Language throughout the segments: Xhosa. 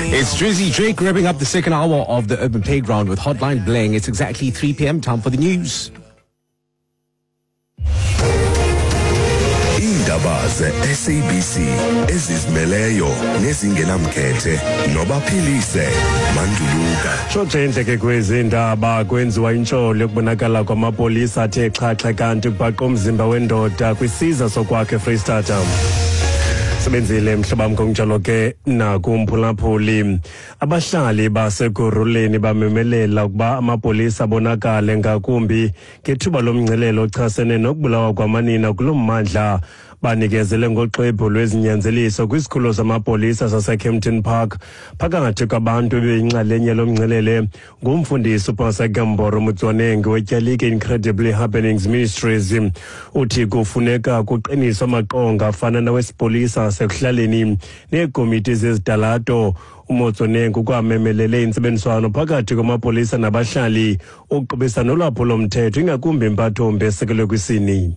It's Drizzy Drake wrapping up the second hour of the Urban Playground with Hotline Bling. It's exactly 3 p.m. Time for the news. Iindaba ze-SABC ezizimeleyo nezingenamkhethe nobaphilise manduluka. Tshotshe ke kwezi ndaba kwenziwa intsholo yokubonakala kwamapolisa athe xhaxhe kanti kubhaqwa umzimba wendoda kwisiza sokwakhe eFreystata. Sebenzile mhlobam ngokunjalo ke nakumphulaphuli. Abahlali baseKurhuleni bamemelela ukuba amapolisa abonakale ngakumbi ngethuba lomngcelele ochasene nokubulawa kwamanina kulo mmandla. Banikezele ngoxwebhu lwezinyanzeliso kwisikhululo samapolisa saseKempton Park. Phakathi kwabantu ebeyinxalenye lomngcelele ngumfundisi uPastor Gamboro Motsoaneng wetyalike Incredibly Happenings Ministries. Uthi kufuneka kuqiniswe amaqonga afana nawesipolisa asekuhlaleni neekomiti zezitalato. UMotsoaneng ukwamemelele intsebenziswano phakathi kwamapolisa nabahlali ukuqubisa nolwaphulo-mthetho ingakumbi impathombi esekelwe kwisini.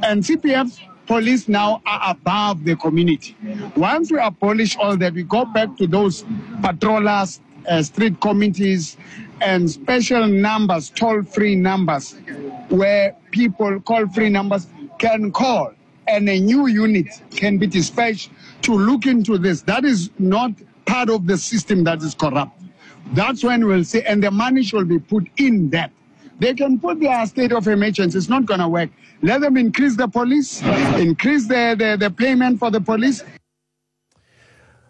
And CPF police now are above the community. Once we abolish all that, we go back to those patrollers, street committees, and special numbers, toll-free numbers, where people call free numbers can call, and a new unit can be dispatched to look into this. That is not part of the system that is corrupt. That's when we'll see, and the money should be put in that. They can put their state of emergency. It's not going to work. Let them increase the police, increase the payment for the police.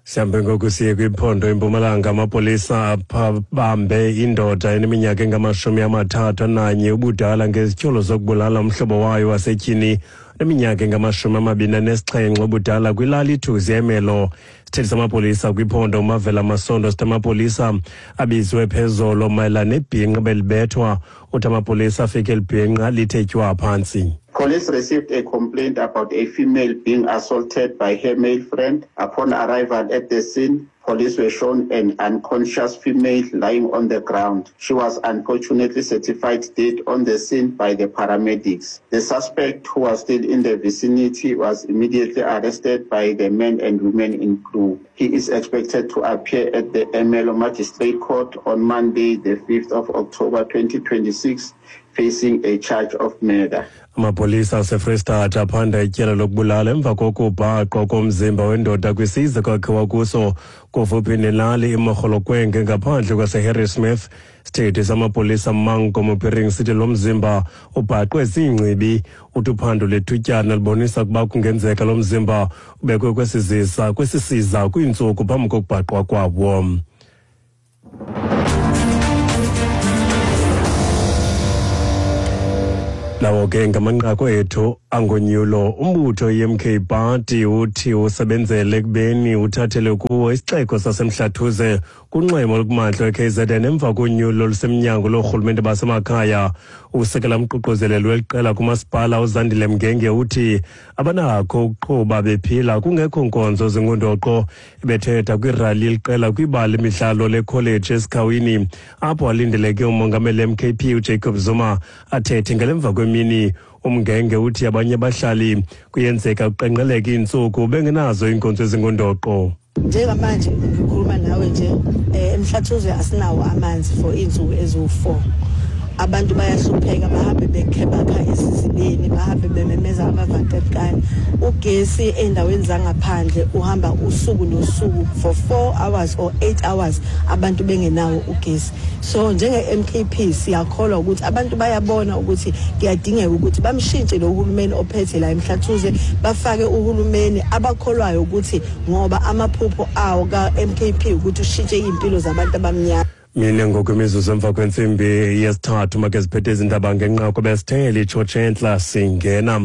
Sihambe ngoku siye kwiphondo iMpumalanga. Amapolisa abambe indoda eneminyaka engama-31 ubudala ngezityholo zokubulala umhlobo wayo wasetyhini neminyaka engama-27 ubudala kwilali iThuzi eMelo. Isithethi samapolisa kwiphondo uMavela Masondo sithi amapolisa abizwe phezolo mayelana nebhinqa belibethwa. Uthi amapolisa afike elibhinqa lithe tywa phantsi. Police received a complaint about a female being assaulted by her male friend. Upon arrival at the scene, police were shown an unconscious female lying on the ground. She was unfortunately certified dead on the scene by the paramedics. The suspect, who was still in the vicinity, was immediately arrested by the men and women in blue. He is expected to appear at the Ermelo Magistrate Court on Monday, the 5th of October 2026, facing a charge of murder. Amapolisa aseFreystata aphanda ityala lokubulala emva kokubhaqwa komzimba wendoda kwisiza kwakhiwa kuso kufuphi nelali iMogolokwenge ngaphandle kwaseHarrismith. Isithethi samapolisa Manko Mopiring sithi lo mzimba ubhaqwe ziingcibi. Uthi uphando lethutyana libonisa ukuba kungenzeka lo mzimba ubekwe kwesisiza kwiintsuku phambi kokubhaqwa kwawo. Lawo ke ngamanqaku ethu angonyulo. Umbutho i-MK Party uthi usebenzele ekubeni uthathele kuwo isixeko saseMhlathuze kunxweme olukumantla we-KZN emva konyulo olusemnyango loorhulumente basemakhaya. Usekela mququzeleli weliqela kumasipala uZandile Mngenge uthi abanakho ukuqhuba bephila kungekho nkonzo zingundoqo. Ebethetha kwirali yeliqela kwibala lemidlalo lekholeji esikhawini apho alindeleke umongameli MKP uJacob Zuma athethe ngelemva kwemini. Umngenge uthi abanye abahlali kuyenzeka kuqenqeleke iintsuku bengenazo iinkonzo ezingundoqo. Njengamanje ngikhuluma nawe nje, eMhlathuze asinawo amanzi for iintsuku eziwu-4. Abantu bayahlupheka, bahambe bekhebakha esizibeni, bahambe bememeza amavatekani. Ugesi ey'ndaweni zangaphandle uhamba usuku nosuku for 4 hours or 8 hours, abantu bengenawo ugesi. So njenge-MKP siyakholwa ukuthi abantu bayabona ukuthi kuyadingeka ukuthi bamshintshe lo hulumeni ophethe la eMhlathuze, bafake uhulumeni abakholwayo ukuthi ngoba amaphupho awo ka-MKP ukuthi ushintshe iy'mpilo zabantu abamnyama. Mine ngoku imizuzu emva kwentsimbi yesithathu make ziphethe izindaba ngenqaku besithele itshotshe entla singena.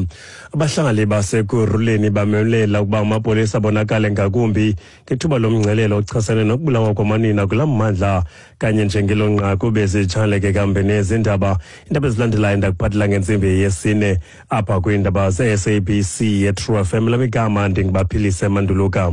Abahlali baseKurhuleni bamemelela ukuba amapolisa abonakale ngakumbi ngethuba lomngcelele ochasene nokubulawa kwamanina kulaa mmandla. Kanye njengelo nqaku bezitshaleke kambe nezindaba. Iindaba ezilandelayo ndakuphathela ngentsimbi yesine apha kwiindaba ze-SABC yeTrue FM. Lamigama ndingubaphilise Manduluka.